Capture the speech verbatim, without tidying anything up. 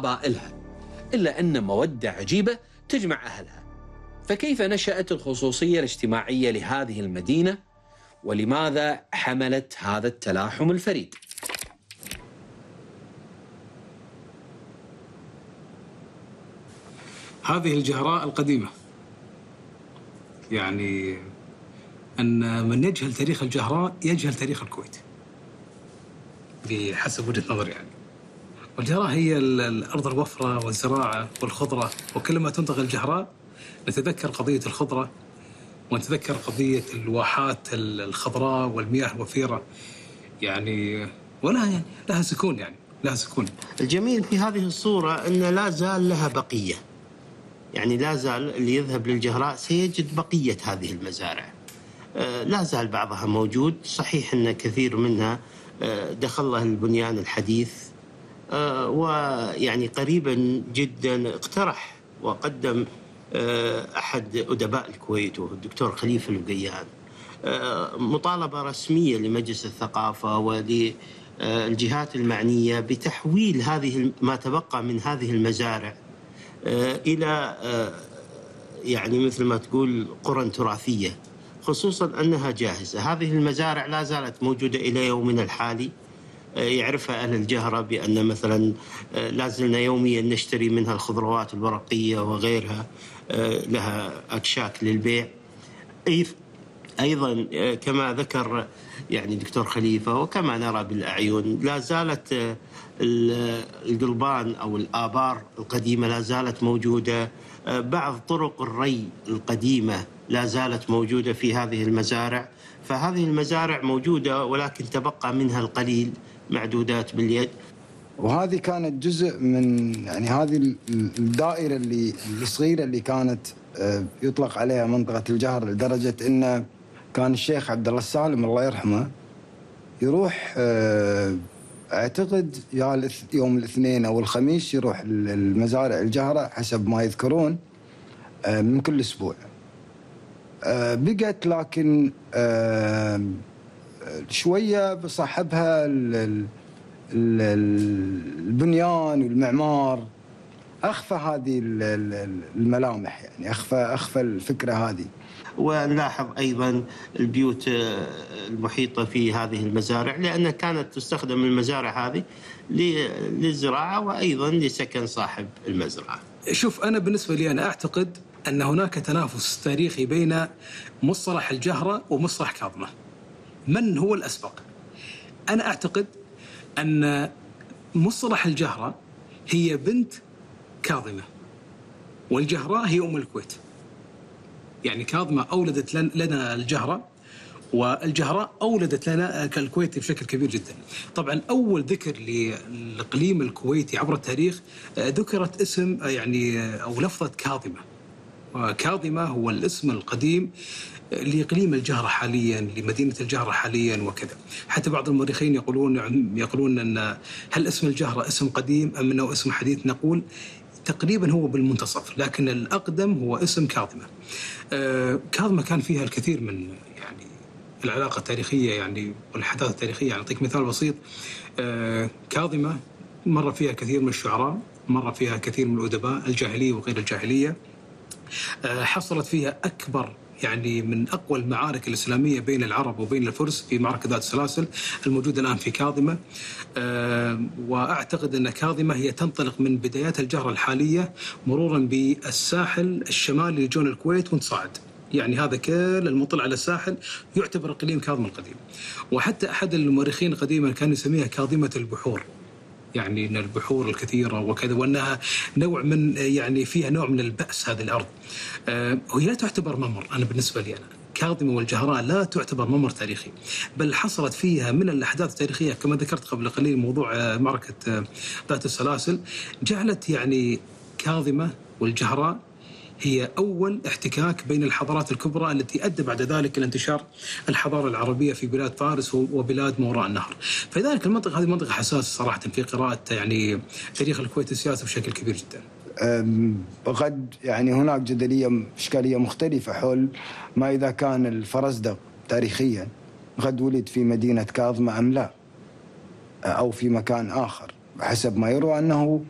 قبائلها، إلا أن مودة عجيبة تجمع أهلها. فكيف نشأت الخصوصية الاجتماعية لهذه المدينة؟ ولماذا حملت هذا التلاحم الفريد؟ هذه الجهراء القديمة، يعني أن من يجهل تاريخ الجهراء يجهل تاريخ الكويت بحسب وجهة نظري. يعني والجهراء هي الأرض الوفرة والزراعة والخضرة، وكلما تنطق الجهراء نتذكر قضية الخضرة ونتذكر قضية الواحات الخضراء والمياه الوفيرة، يعني ولا يعني لها سكون، يعني لها سكون. الجميل في هذه الصورة أن لا زال لها بقية، يعني لا زال اللي يذهب للجهراء سيجد بقية هذه المزارع، لا زال بعضها موجود. صحيح أن كثير منها دخل له البنيان الحديث، ويعني قريبا جدا اقترح وقدم أحد أدباء الكويت وهو الدكتور خليفة الوقيان مطالبة رسمية لمجلس الثقافة وللجهات المعنية بتحويل هذه ما تبقى من هذه المزارع إلى يعني مثل ما تقول قرى تراثية، خصوصا أنها جاهزة. هذه المزارع لا زالت موجودة إلى يومنا الحالي، يعرفها أهل الجهرة بأن مثلا لازلنا يوميا نشتري منها الخضروات الورقية وغيرها، لها أكشاك للبيع. أيضا كما ذكر يعني دكتور خليفة وكما نرى بالأعين، لا زالت القلبان أو الآبار القديمة لا زالت موجودة، بعض طرق الري القديمة لا زالت موجودة في هذه المزارع. فهذه المزارع موجودة ولكن تبقى منها القليل، معدودات باليد. وهذه كانت جزء من يعني هذه الدائرة اللي الصغيرة اللي كانت يطلق عليها منطقة الجهر، لدرجة إن كان الشيخ عبد الله السالم الله يرحمه يروح اعتقد يوم الاثنين او الخميس يروح المزارع الجهرة حسب ما يذكرون من كل اسبوع. بقت لكن شويه بصاحبها البنيان والمعمار اخفى هذه الملامح، يعني اخفى اخفى الفكره هذه. ونلاحظ أيضا البيوت المحيطة في هذه المزارع، لأنها كانت تستخدم المزارع هذه للزراعة وأيضا لسكن صاحب المزرعة. شوف، أنا بالنسبة لي أنا أعتقد أن هناك تنافس تاريخي بين مصطلح الجهرة ومصطلح كاظمة. من هو الأسبق؟ أنا أعتقد أن مصطلح الجهرة هي بنت كاظمة، والجهراء هي أم الكويت. يعني كاظمة أولدت لنا الجهرة، والجهراء أولدت لنا الكويت بشكل كبير جدا. طبعا أول ذكر للإقليم الكويتي عبر التاريخ ذكرت اسم يعني أو لفظة كاظمة. وكاظمة هو الاسم القديم لإقليم الجهرة حاليا، لمدينة الجهرة حاليا وكذا. حتى بعض المؤرخين يقولون يقولون أن هل اسم الجهرة اسم قديم أم أنه اسم حديث؟ نقول تقريبا هو بالمنتصف، لكن الأقدم هو اسم كاظمة. آه كاظمة كان فيها الكثير من يعني العلاقة التاريخية يعني والأحداث التاريخية. يعني أعطيك مثال بسيط. آه كاظمة مر فيها كثير من الشعراء، مر فيها كثير من الأدباء الجاهلية وغير الجاهلية. آه حصلت فيها أكبر يعني من أقوى المعارك الإسلامية بين العرب وبين الفرس في معركة ذات السلاسل الموجودة الآن في كاظمة. أه وأعتقد أن كاظمة هي تنطلق من بدايات الجهرة الحالية مرورا بالساحل الشمالي لجون الكويت ونتصاعد. يعني هذا كل المطل على الساحل يعتبر إقليم كاظمة القديم. وحتى أحد المؤرخين قديما كان يسميها كاظمة البحور، يعني ان البحور الكثيره وكذا، وانها نوع من يعني فيها نوع من البأس هذه الارض. آه وهي لا تعتبر ممر. انا بالنسبه لي انا كاظمة والجهراء لا تعتبر ممر تاريخي، بل حصلت فيها من الاحداث التاريخيه كما ذكرت قبل قليل موضوع آه معركه آه ذات السلاسل، جعلت يعني كاظمة والجهراء هي أول احتكاك بين الحضارات الكبرى التي أدى بعد ذلك إلى انتشار الحضارة العربية في بلاد فارس وبلاد ما وراء النهر. فلذلك المنطقة هذه منطقة حساسة صراحة في قراءة يعني تاريخ الكويت السياسي بشكل كبير جدا. وقد يعني هناك جدلية إشكالية مختلفة حول ما إذا كان الفرزدق تاريخيا قد ولد في مدينة كاظمة أم لا، أو في مكان آخر. حسب ما يروى أنه